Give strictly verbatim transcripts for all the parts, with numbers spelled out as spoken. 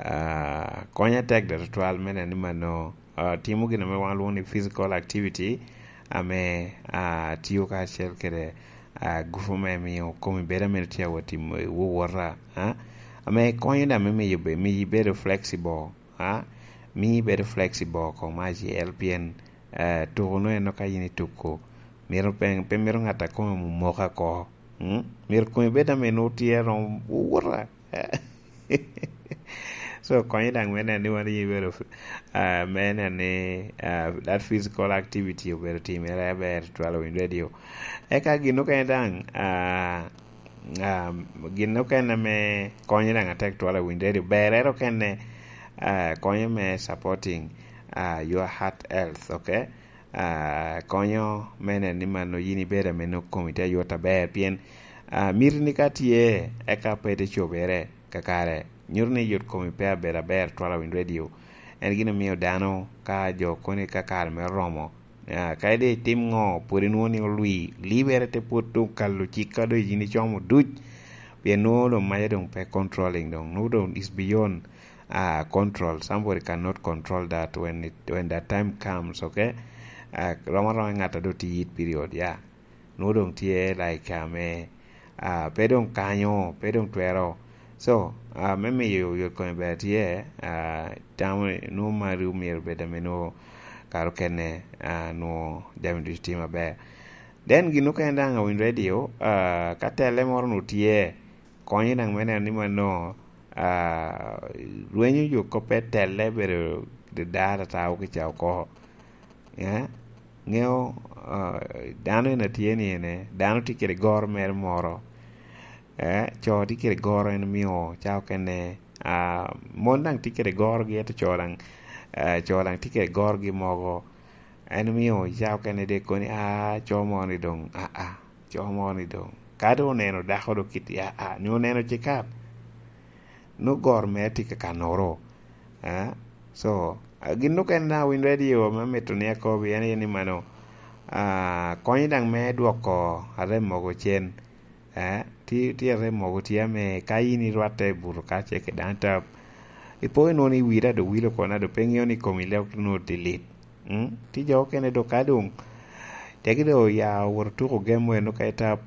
Ah, konye tek dok tutwal me neno ni mano, ah, timo gin ame wan lwongo ni physical activity, ame, ah, tio kacel kede, ah, gupu me miyo komi bedo ame tye awot i wowota, ah, ame konyo dok me miyo be-, miyo ibedo flexible, ah, miyo ibedo flexible oko me acel, pien, ah, tuko no en ka in ituko, myero pe, pe myero ŋat a kome omoka oko. Mm? Myero komi bed ame nwoŋo tye romo wowota. So, konye daŋ me neno ni wan ibedo, ah, me neno ni, ah, that physical activity obedo timere aber twal owiny radio. Eka gin okene daŋ, ah, ah, gin okene ame konye daŋ atek twal owiny radio, berere okene, ah, konye me supporting, ah, your heart health, okay? Ah, konyo me neno ni mano yin ibedo ame nwoŋo komi tye ayot aber, pien, ah, miti ni ka tye, eka pe te cobere kakare, nyuto ni yot komi pe abedo aber twala winy radio. En gin omio dano ka jo koni ka kare mere oromo, ah, ka ide itim ŋo, pwod inwoŋo ni olwi, libere te pwod okalo cik ka doŋ yin icomo duc, pien nwoŋo doŋ maca doŋ pe controlling, doŋ nwoŋo doŋ is beyond, ah, control. Somebody cannot control that when it, when that time comes, okay? Ah, romo aroma ŋat a doŋ tye it period, yeah. Nwoŋo doŋ tye like ame, ah, pe doŋ kanyo, pe doŋ twero. So, ah, me miyo yot kome ber tye, ah, tamo ni nwoŋo mari omyero bed ame nwoŋo kare okene, ah, nwoŋo jami ducu tye maber. Then gin okene daŋ awiny radio, ah, ka telle moro nwoŋo tye, konye daŋ me neno ni mano, ah, rwenyo jo kop pe telle bedo dada ata oko i ca oko. Eh? Ŋeo, ah, dano en atye ni ene, dano tye kede goro mere moro. Eh, co tye kede goro en omio ca okene, ah, mon daŋ tye kede gorogi, ento co daŋ, ah, co daŋ tye kede gorogi mogo. En omio ca okene de koni, ah, co mo ni doŋ, ah, ah, co mo ni doŋ. Ka doŋ oneno dako doŋ kit, ah, ah, ni oneno cikat. Nwoŋo goro mere tye ka kanoro. Ah, so, ah, gin okene na winy radio me mito ni akobi en aye ni mano, ah, konyo daŋ me dwoko arem mogo cen. Eh, ti, ti arem mogo tye ame ka in irwatte i buto ka ce kede dano tap, ipo inwoŋo ni wi dado wilo oko, nado pe ŋeo ni komi leo nwoŋo tye lit. Mm? Ti jo okene do ka doŋ, tegi do oya owoto tuko game mo eno ka i tap,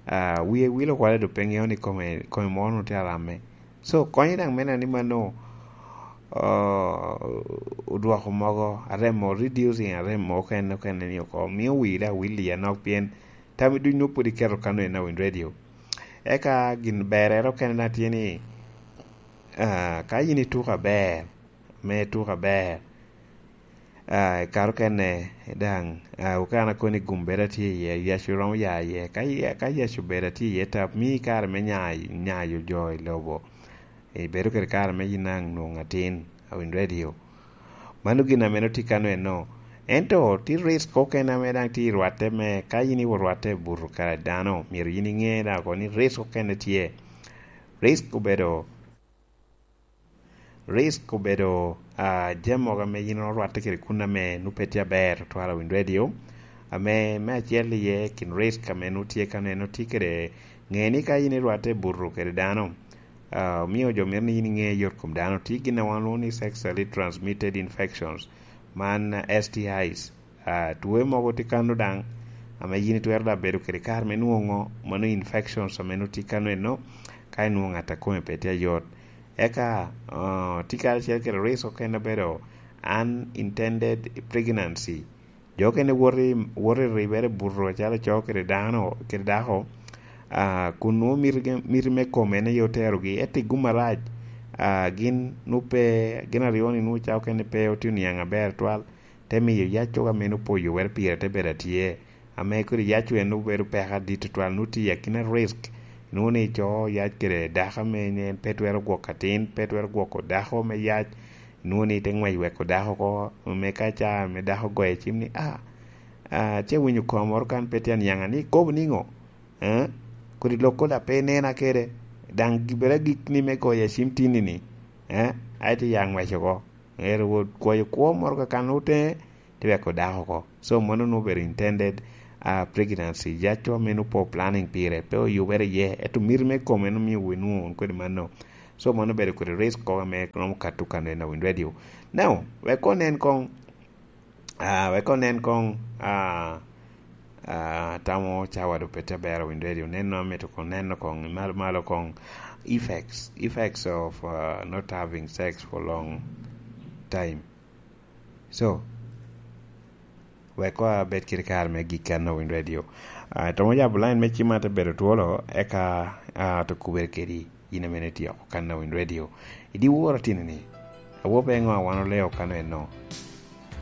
ah, wie wilo kwala do pe ŋeo ni kome, kome mo nwoŋo tye aramme. So, konye daŋ me neno ni mano, ah, odwoko mogo, arem mo, reducing arem mo okene, okene ni oko, mio wi daŋ wil i anok pien tami duc nwoŋo pwod iketo kano en awiny radio. Eka gin berrere okene na tye ni, ah, ka in ituko aber, me ituko aber, ah, i kare okene daŋ, ah, okene akoni gum bedo atye iye, yac romo ya iye. Ka ya-, ka yac obedo atye iye tap, mii kare me nya-, nyayo jo i lobo. Ibedo kede kare me yin daŋ nwoŋo atin, awiny radio. Mano gin ame nwoŋo tye kano eno. Ento tye risk okene ame daŋ tye i rwatte me, ka in iwo rwatte i buto kara dano, myero yin iŋe daŋ oko ni risk okene tye. Risk obedo, risk obedo, ah, jami mogo ame yin orwatte kede kun ame nwoŋo pe tye aber, otwal awiny radio. Ame me acel iye kin risk ame nwoŋo tye kano eno tye kede ŋe ni ka in irwatte i buto kede dano, ah, omio jo mito ni in iŋe yot kom dano. Tye gin a wan lwongo ni sexually transmitted infections, man, ah, S T Is. Ah, two mogo tye kano daŋ, ame yin itwero daŋ bedo kede kare me nwoŋo mano infections ame nwoŋo tye kano eno, ka inwoŋo ŋat a kome pe tye ayot. Eka, ah, tye karacel kede risk okene obedo unintended pregnancy. Jo okene woto i, woto i ribere buto acalo co kede dano, kede dako, ah, kun nwoŋo miti, miti me kome en aye oterogi, ento i gum arac, ah, gin nwoŋo pe, gin aryo-ni nwoŋo ca okene pe otye oniaŋ aber twal, te miyo yac cogo ame nwoŋo pe oyubere pire te bedo atye, ame kodi yac en nwoŋo bedo peko adit tutwal, nwoŋo tye i akina risk, nwoŋo ni co yac kede dako ame en pe twero gwoko atin, pe twero gwoko dako me yac, nwoŋo ni te ŋwec weko dako oko, me ka ca me dako goyo cim ni, "Ah, ah, ce winyo koma moro kan pe tye aniaŋa ni ikobo niŋo? Eh? Kodi lok koda pe inena kede, daŋ gibere agikni me goyo acim tinni-ni, eh? Ai te ya ŋwec oko." Ero wot kwoyo kwo moro kakan oteŋe, te weko dako oko. So, mano nwoŋo obedo intended, ah, pregnancy. Yac ame nwoŋo pe planning pire, pe oyubere iye, ento miti me kome en omio wi nwoŋo wun kodi mano. So mano obedo kodi risk kong ame romo kato kan en a Win Radio. Now, wek koŋ nen koŋ, ah, wek koŋ nen koŋ, ah, ah, tamo cawa do pete aber a Win Radio. Nen no amito koŋ neno koŋ, malo, malo koŋ effects, effects of, ah, not having sex for long time. So, wek koŋ abed kede kare me gik kan a Win Radio. Ah, tomo yabo line me cima te bedo twolo, eka, ah, to kubere kedi, yin ame itye oko kan a Win Radio. Idi woro tini ni, awo pe ŋo a wan oleo kan eno.